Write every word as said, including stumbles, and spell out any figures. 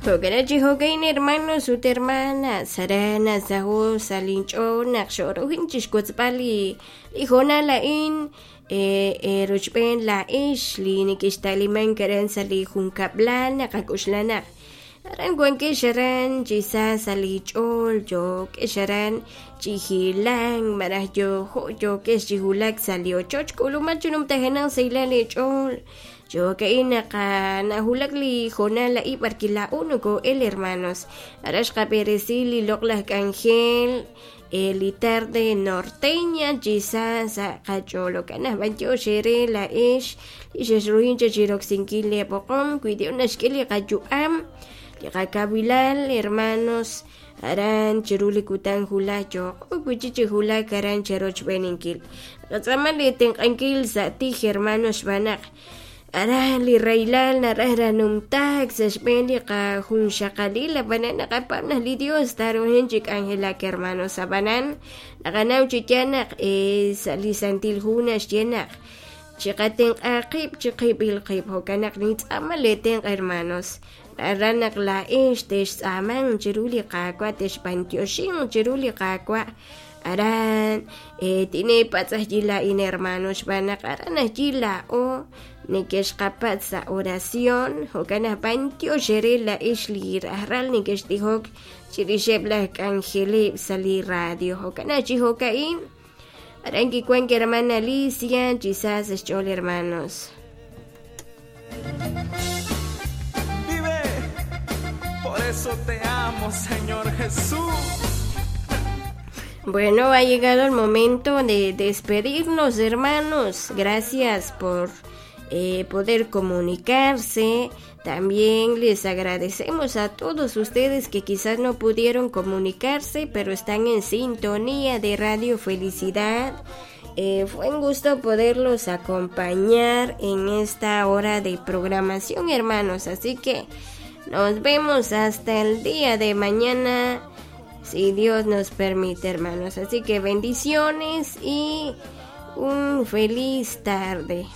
Jo'kan chi jo'kan hermanos ut hermanas aran nasaho' sa' linch'ool naq xo'rujin chixwotzb'al li li hoonal a'in rochb'een laa'ex li nekexta'limank aran sa' li junkab'lal naqak'oxla naq aran wankex aran chi sa sa' li ch'ool yo'kex aran chi hilank malaj yojo' yo'kex chi wulak sa' li ochoch k'ulumal chi numtajenaq sahilal eech'ool jo'ka'in naq nawulak li hoonal a'in b'ar laa'o noko'el hermanos aran xqab'eresi li loq'laj k'anjel li tarde norteña chi sa sa' qach'ool jo'kan naq b'antiox eere laa'ex li xexruhin cha chiroksinkil li b'oqom wi Dios naxk'e li qayu'am li qakawilal hermanos aran chiru li kutan wulaj yo'qo wi'chik chi wulak aran cherochb'eeninkil qatz'aama li tenq'ankil sa' tij hermanos xb'aan naq aran li rahilal naraj ranumtaak sa' xb'een li qajunxaqalil ab'anan naqapab' naq li Dios taruhin chi k'anjelak hermanos ab'anan naqanaw chi yaal naq sa' li Santil Hu naxye naq chiqatenq'a qib' chiqib'il qib' jo'kan naq nintz'aama li tenq' hermanos aran naq laa'ex textz'aaman chiru li Qaawa' texb'antioxin chiru li Qaawa' aran tinepatz' ajyi laa'in hermanos xb'aan naq aran ajyi laa'o nekexqapatz' sa' oración jo'kan naq b'antiox eere laa'ex li rajlal nekextijok chirixeb' laj k'anjeleb' sa' li radio jo'kan naq chi jo'ka'in aran kiwank hermana Alicia chi sa sa' xch'ool hermanos. Vive, por eso te amo, Señor Jesús. Bueno, ha llegado el momento de despedirnos, hermanos. Gracias por eh, poder comunicarse. También les agradecemos a todos ustedes que quizás no pudieron comunicarse, pero están en sintonía de Radio Felicidad. Eh, fue un gusto poderlos acompañar en esta hora de programación, hermanos. Así que nos vemos hasta el día de mañana, si Dios nos permite, hermanos. Así que bendiciones y un feliz tarde.